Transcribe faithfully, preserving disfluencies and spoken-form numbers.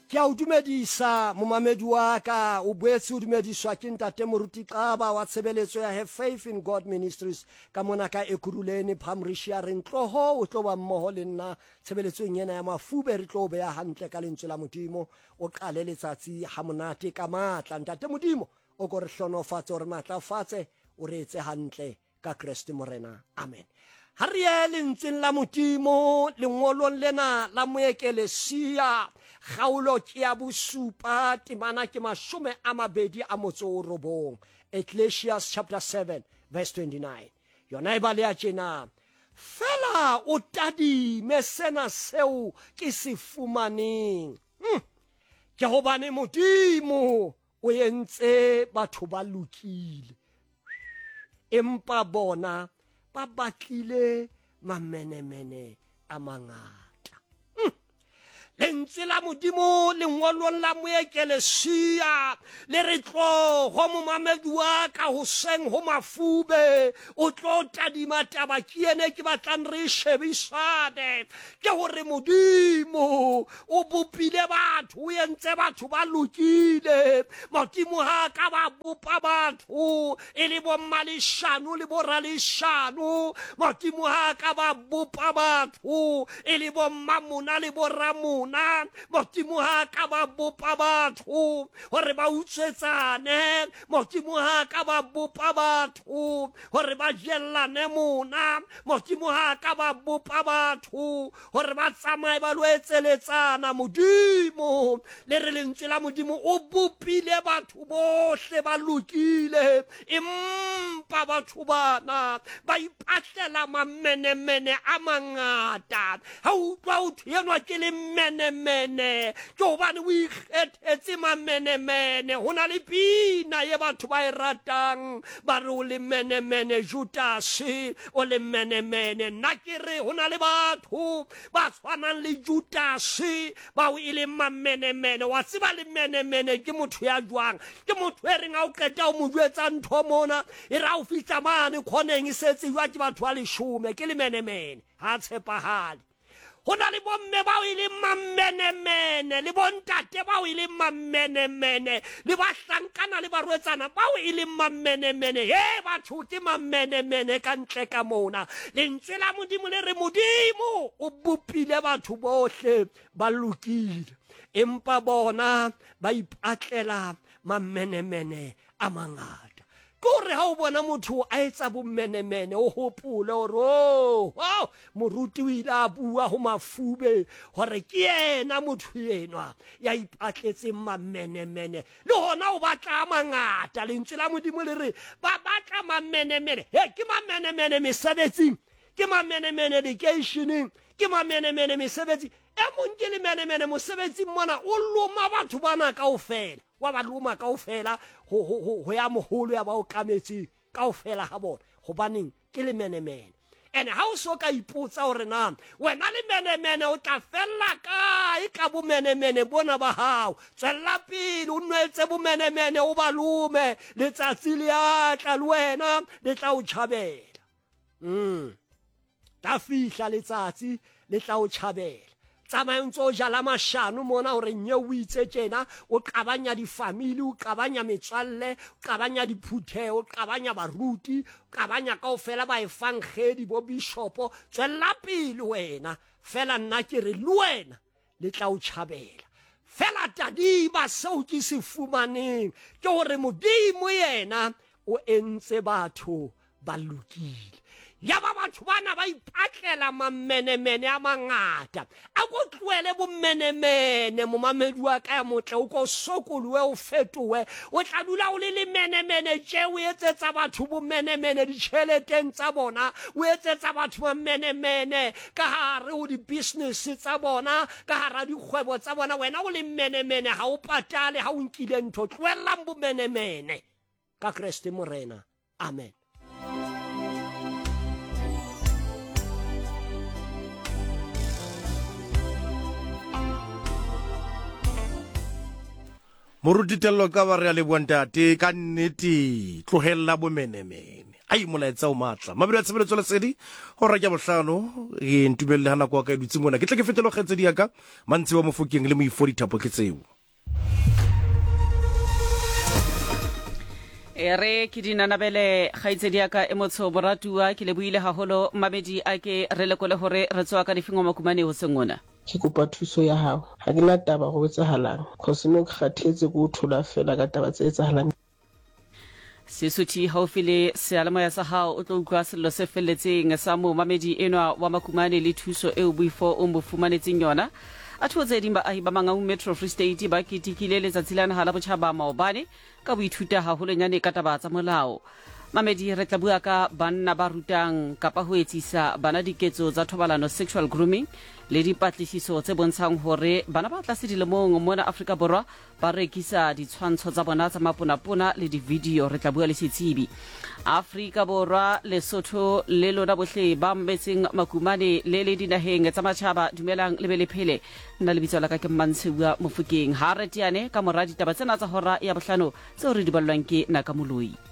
Ke a o dumedisa momamedi wa ka, o boetse o dumediswa ke ntate Moruti Xaba wa tshebeletso ya Have Faith in God Ministries ka mona ka Ekurhuleni Palmridge. Re ntloho o tlo ba mmoho le nna tshebeletsong ena ya mafube, re tlo beya hantle ka lentswe la Modimo. O qale letsatsi ha monate ka matla. Ntate Modimo o ko re hlonofatse, o re matlafatse, o re etse hantle ka Kreste Morena. Amen. Ha re ye lentsweng la Modimo lengolong lena la Moekelesia, kgaolo ke ya bosupa, temana ke mashome a mabedi a motso o robong. Ecclesiastes chapter seven verse twenty-nine. Yona e baleha tjena: fela o tadime sena seo ke se fumaneng. Hmm. Ke hobane Modimo o entse batho ba lokile, empa bona ba batlile mamenemene a mangata. Hmm. Lentswe la Modimo lengolong la Moekelesia le re tloho momamedi wa ka hoseng ho mafube, o tlo tadima taba ke ene ke batlang re shebisane. Ke hore Modimo o bopile batho, o entse batho ba lokile. Modimo ha ka ba bopa batho e le bommaleshano le boraleshano. Modimo ha ka ba bopa batho e le bommamona le boramona. Modimo ha ka ba bopa batho hore ba utswetsane. Modimo ha ka ba bopa batho hore ba jellane mona. Modimo ha ka ba bopa batho hore ba tsamaye ba lo etseletsana. Modimo le re lentswe la Modimo o bopile batho bohle ba lokile, empa batho bana ba ipatlela mamenemene a mangata. Ha utlwa o thwe enwa ke le menemene, ke hobane o ikgethetse mamenemene. Ho na le pina ye batho ba e ratang, ba re o le menemene Judase, o le menemene. Nna ke re ho na le batho ba tshwanang le Judase bao e leng mamenemene. Wa tseba le menemene ke motho ya jwang? Ke motho e reng ha o qeta o mo jwetsa ntho mona, e re ha o fihla mane khoneng e setse jwa ke batho ba leshome. Ke le menemene, ha tshepahale. Ho na le bomme bao e leng mamenemene, le bontate bao e leng mamenemene, le bahlankana le barwetsana bao e leng mamenemene. He batho ke mamenemene ka ntle ka mona. Lentswe la Modimo le re Modimo o bopile batho bohle ba lokile, empa bona ba ipatlela mamenemene a mangata. Ke hore ha o bona motho a etsa bomenemene, o hopole hore oh, oh, moruti o ile a bua ho mafube hore ke yena motho enwa ya ipatletseng mamenemene. Le hona o batla a mangata. Lentswe la Modimo le re ba batla mamenemene. He, ke mamenemene mesebetsing, ke mamenemene lekeisheneng, ke mamenemene mesebetsing. E mong ke lemenemene mosebetsing mona, o loma batho bana kaofela. Wa ba loma kaofela ho ho ho ya moholo ya ba o kametseng kaofela ha bona. Hobaneng ke lemenemene. Ene ha o so ka ipotsa hore na wena lemenemene o tla fella kae ka bomenemene bona ba hao. Tswella pele o nwetse bomenemene, o ba lome, letsatsi le a tla le wena le tla o tjhabela. Mm. Tla fihla letsatsi le tla o tjhabela. Tsamaya o ntso o jala mashano mona hore nye o itse tjena, o qabanya difamili, o qabanya metswalle, o qabanya diphutheho, o qabanya baruti, o qabanya kaofela baefangedi, bo bishopo. Tswella pele wena. Fela nna ke re le wena le tla o tjhabela. Fela tadima seo ke se fumaneng ke hore Modimo yena o entse batho ba lokile. Ya ba batho bana ba ipatlela mamenemene a mangata. A ko tlohele bomenemene, momamedi wa ka ya motle, o ko sokolohe, o fetohe. O tla dula o le lemenemene tje, o etsetsa batho bomenemene ditjheleteng tsa bona, o etsetsa batho mamenemene ka hare ho di-business tsa bona, ka hara dikgwebo tsa bona. Wena o le menemene, ha o patale ha o nkile ntho. Tlohellang bomenemene ka Kreste Morena. Amen. Moruti Tello Xaba, re a leboha ntate ka nnete. Tlohella bomenemene. Ai, molaetsa o matla. Mabelo a tshebeletso lesedi hora ke bohlano, e ntumelle ha nako ya ka e dutse mona. Ke tle ke fetele ho kgaitsedi ya ka Mantsi wa Mofokeng le Moifo Dithapo ke tseo. E re ke dinanabele kgaitsedi ya ka e motsho moratuwa, ke lebohile haholo mamedi a ke re lekole hore re tswa ka difeng wa Makumane ho seng ona. Ke kopa thuso ya hao. Ha ke na taba ho etsahalang. Cause no ke kgathetse ke o thola fela ka taba tse etsahalang. Sesuthi haufi le seyalemoya sa hao o tlo utlwa sello se felletseng sa momamedi enwa wa Makumane le thuso eo Boifo o mo fumanetseng yona. A thuo tse ding baahi ba Mangaung Metro Free State ba ketekile letsatsi la naha la botjhaba maobane ka boithuta haholonyane ka taba tsa molao. Mamedi re tla bua ka banna ba rutang kapa ho etsisa bana diketso tsa thobalano sexual grooming le dipatlisiso tse bontshang hore bana ba tlase dilemong mona Afrika Borwa ba rekisa ditshwantsho tsa bona tsa maponapona le di-video. Re tla bua le setsebi. Afrika Borwa, Lesotho le lona bohle ba mmetseng Makumane le le dinaheng tsa matjhaba, dumelang le be le phele. Nna lebitso la ka ke Mmantshiwa Mofokeng. Ha re teane ka mora ditaba tsena tsa hora ya bohlano tseo re di ballwang ke Naka Moloi.